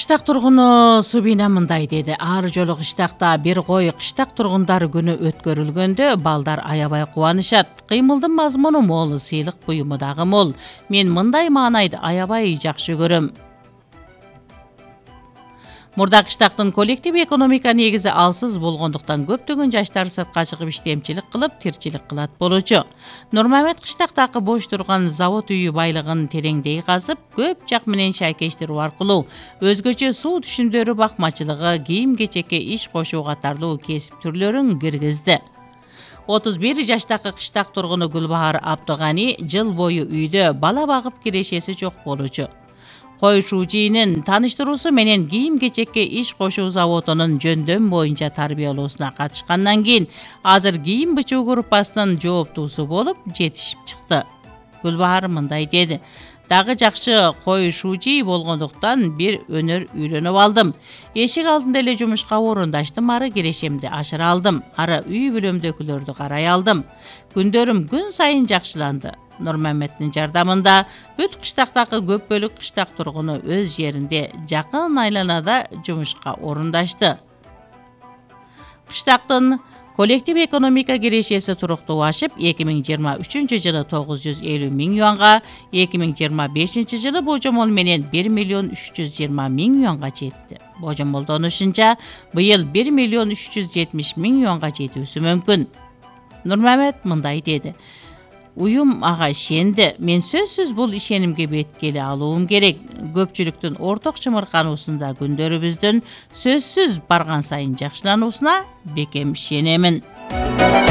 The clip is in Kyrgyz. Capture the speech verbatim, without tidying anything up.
Кыштак тургуну Субина мындай деди. Ар жолу кыштакта бир кой кыштак тургундары күнү өткөрүлгөндө балдар аябай кубанышат. Кыймылдын мазмуну мол, сыйлык буюму дагы мол. Мен мындай маанайды аябай жакшы көрөм. Мурда кыштактын коллектив экономика негизи алсыз болгондуктан көптөгөн жаштар сыртка чыгып иштемчилик кылып, тирчилик кылат болчу. Нурмамет кыштактагы бош турган завод үйү байлыгын тереңдей казып, көп жак менен шайкештирүү аркылуу өзгөчө суу түшүмдөрү бакмачылыгы, кийим-кечекке иш кошуу катарлуу кесип түрлөрүн киргизди. отуз бир жаштагы кыштак тургуну Гүлбахар Абдыганы жыл бою үйдө бала багып кирешеси жок болчу. Кой Шужинин тааныштыруусу менен кийим-кечекке иш кошуу заводунун жөндөм боюнча тарбиялоосуна катышкандан кийин азыр кийим бычуу группасынын жооптуусу болуп жетишип чыкты. Гүлбахар мындай деди. Дагы жакшы кой Шужи болгондуктан бир өнөр үйрөнүп алдым. Эшик алдында эле жумушка орундаштым, ары кирешемди ашыра алдым. Ары үй бүлөмдөгүлөрдү карай алдым. Күндөрүм күн сайын жакшыланды. Нурмаметтин жардамында бүт кыштактагы көп бөлүк кыштак тургуну өз жеринде жакын айланада жумушка орундашты. Кыштактын коллектив экономика кирешеси туруктуашып, эки миң жыйырма үчүнчү жылы тогуз жүз элүү миң юанга, эки миң жыйырма бешинчи жылы божомол менен бир миллион үч жүз жыйырма миң юанга жетти. Божомолдонушунча быйыл бир миллион үч жүз жетимиш миң юанга жетүүсү мүмкүн. Нурмамет мындай деди. Уюм ага ишенди. Мен сөзсүз бул ишенимге беткели алуум керек. Көпчүлүктүн орток чымыркануусунда күндөрүбүздүн сөзсүз барган сайын жакшылануусуна бекем ишенемин.